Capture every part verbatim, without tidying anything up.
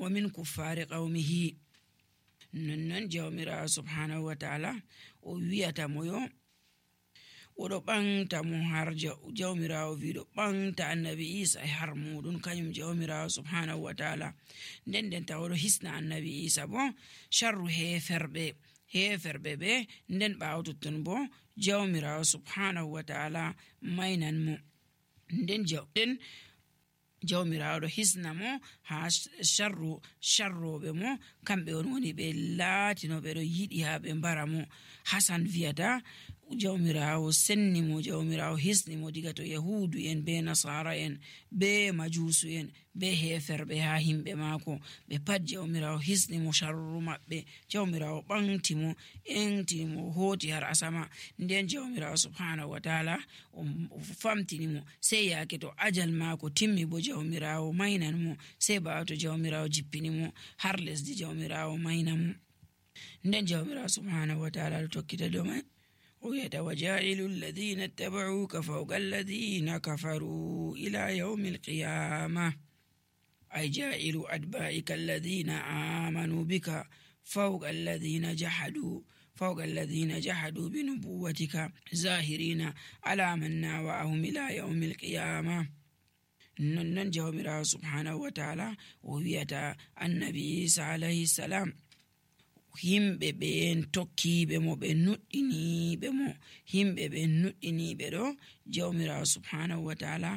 wa min kuffari qawmihi. nonnon jawmirawo subhanahu wa ta'ala o wiyata moyo oɗo ɓanta mo har jawmirawo wiɗo ɓanta annabi Isa e har muɗum kanyum jawmirawo subhanahu wa ta'ala. nden nden ta oɗo hisna annabi Isa bo sharru heferɓe heferɓe ɓe. nden ɓawo totton bo jawmirawo subhanahu wa ta'ala mainan mo. nden jawden jawmirawo ɗo hisna mo ha sharru sharroɓe mo kamɓe on woni ɓe laatinoɓe ɗo yiɗi ha ɓe mbara mo. Hasan wiyata jawmirawo senni mo, jawmirawo hisni mo diga to yahudu en be nasara en be majusu en be heferɓe ha himɓe mako ɓe pat jawmirawo hisni mo sharru maɓɓe. jawmirawo ɓanti mo entini mo hoti har asama. nden jawmirawo subhanahu wa ta'ala o famtini mo sey yake to ajal mako timmi bo jawmirawo mainan mo. sey ɓawo to jawmirawo jippini mo har lesdi jawmirawo mainan mo. nden jawmirawo subhanahu wa ta'ala tokkita do mai وَيَتَوَجَّعِلُ الَّذِينَ اتَّبَعُوكَ فَوْقَ الَّذِينَ كَفَرُوا إِلَى يَوْمِ الْقِيَامَةِ أي جاعل أتباعك الذين آمنوا بك فوق الذين جحدوا فوق الذين جحدوا بنبوتك ظاهرين على من ناوأهم إلى يوم القيامة. نن جومرا سبحانه وتعالى وويتا النبي عيسى عليه السلام himɓe ɓen tokkiɓe mo ɓe nuɗɗiniɓe mo himɓe ɓen nuɗɗiniɓe ɗo jawmirawo subhanahu wa ta'ala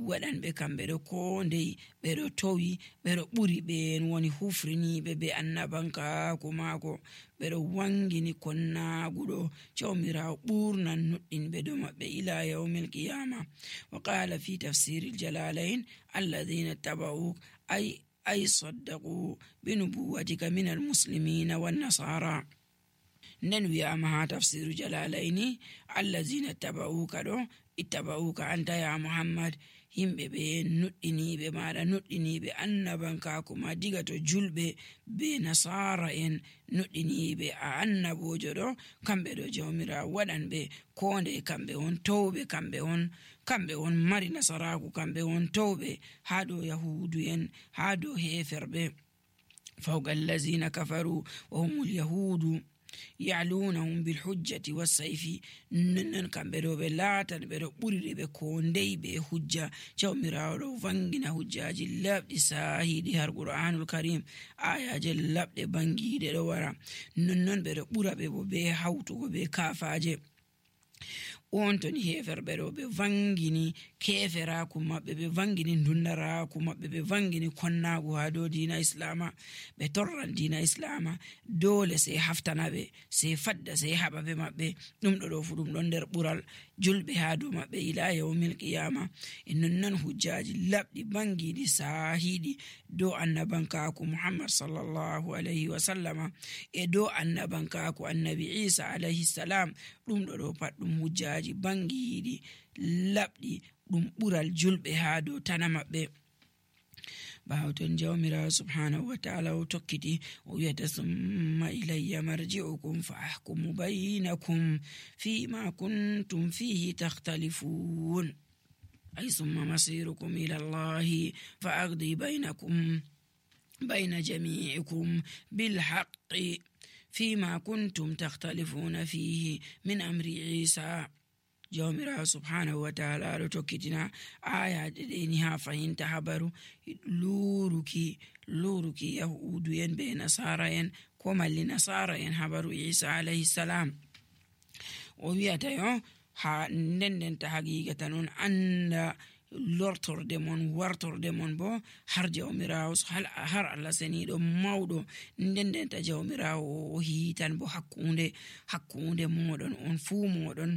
waɗanɓe kamɓe ɗo ko ndey ɓeɗo towi ɓeɗo ɓuri ɓen woni hufriniɓe be annabankaako maako ɓeɗo wangini konnaguɗo jawmirawo ɓurnan nuɗɗinɓe do maɓɓe ila yawmil qiyama. Wa qala fi tafsiril jalalain alladhina taba'uk ay أي صدقوا بنبوتك من المسلمين والنصارى. ننوي أمها تفسير جلالين الذين اتبعوك دو اتبعوك أنت يا محمد himɓe ɓe nuɗɗiniɓe maɗa nuɗɗiniɓe annabankaako ma diga to julɓe be nasara en nuɗɗiniɓe a annabojo ɗo kamɓe ɗo jawmira waɗanɓe konde kamɓe on towɓe kamɓe on kamɓe on mari nasaraku kamɓe on towɓe ha ɗo yahudu en ha ɗo heferɓe fawqa allazina kafaru wa humul yahudu ya'lunahum bil hujjati was sayfi. nan kamɓe ɗo ɓe laatan ɓe ɗo ɓuriri ɓe ko ndey ɓe hujja jawmirawo ɗo vangina hujjaji labɗi sahiɗi har qur'anul karim ayaje labɗe bangiɗe ɗo wara nonnon ɓe ɗo ɓura ɓe bo be hawtugo be kafaje on toni heferɓe ɗo ɓe vangini keferaku maɓɓe ɓe vangini dundaraku maɓɓe ɓe vangini konnagu ha dow dina islama ɓe torran dina islama dole sey haftana ɓe sey fadda sey haɓa ɓe maɓɓe ɗum ɗo ɗo fu ɗum ɗon nder ɓural julɓe ha dow maɓɓe ila yawmil qiyama. e nonnon hujjaji labɗi bangiɗi sahiɗi dow annabankaku muhammad sallallahu alayhi wa sallama e dow annabankaku annabi isa alayhi salam ɗum ɗo ɗo pat ɗum hujjaji bangiɗi labɗi ɗum ɓural julɓe ha dow tana maɓɓe. ɓawo ton jawmirawo subhanahu wa ta'ala o tokkiti o wiyata summa ilayya marji'ukum fa ahkumu baynakum fima kuntum fihi takhtalifun ay summa masirukum ila allahi fa aqdi baynakum bayna jami'ikum bil haqqi fima kuntum takhtalifuna fihi min amri isa. jawmirawo subhanahu wa ta'ala ɗo tokkitina ayaje ɗeni ha fahinta habaru luruki luruki yahudu en be nasara en ko malli nasara en habaru isa alayhi salam. o wiyata yo ha nden ta haqiqata non anda lortorde mon wartorde mon bo har jawmirawo har Allah seniɗo mawɗo nden ta jawmirawo o hitan bo hakkunde hakkunde moɗon on fuu moɗon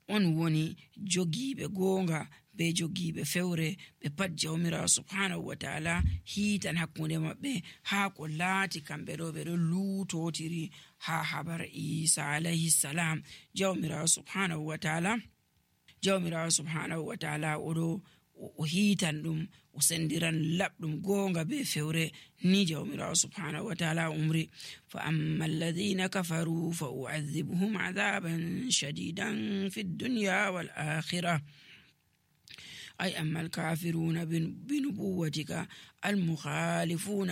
on woni jogiiɓe goonga be jogiiɓe fewre ɓe pat jawmirawo subhanahu wa ta'ala hiitan hakkunde maɓɓe haa ko laati kamɓe ɗo ɓe ɗo luutotiri haa habar isa alayhi salam. jawmirawo subhanahu wa ta'ala jawmirawo subhanahu wa ta'ala oɗo o hiitan ɗum o sendiran labɗum goonga be fewre ni jawmirawo subhanahu wa ta'ala umri. fa amma alladhina kafaru fa u'adhibuhum 'adaban shadidan fid dunya wal akhirah ay amma al kafiruna bi nubuwatika al mukhalifuna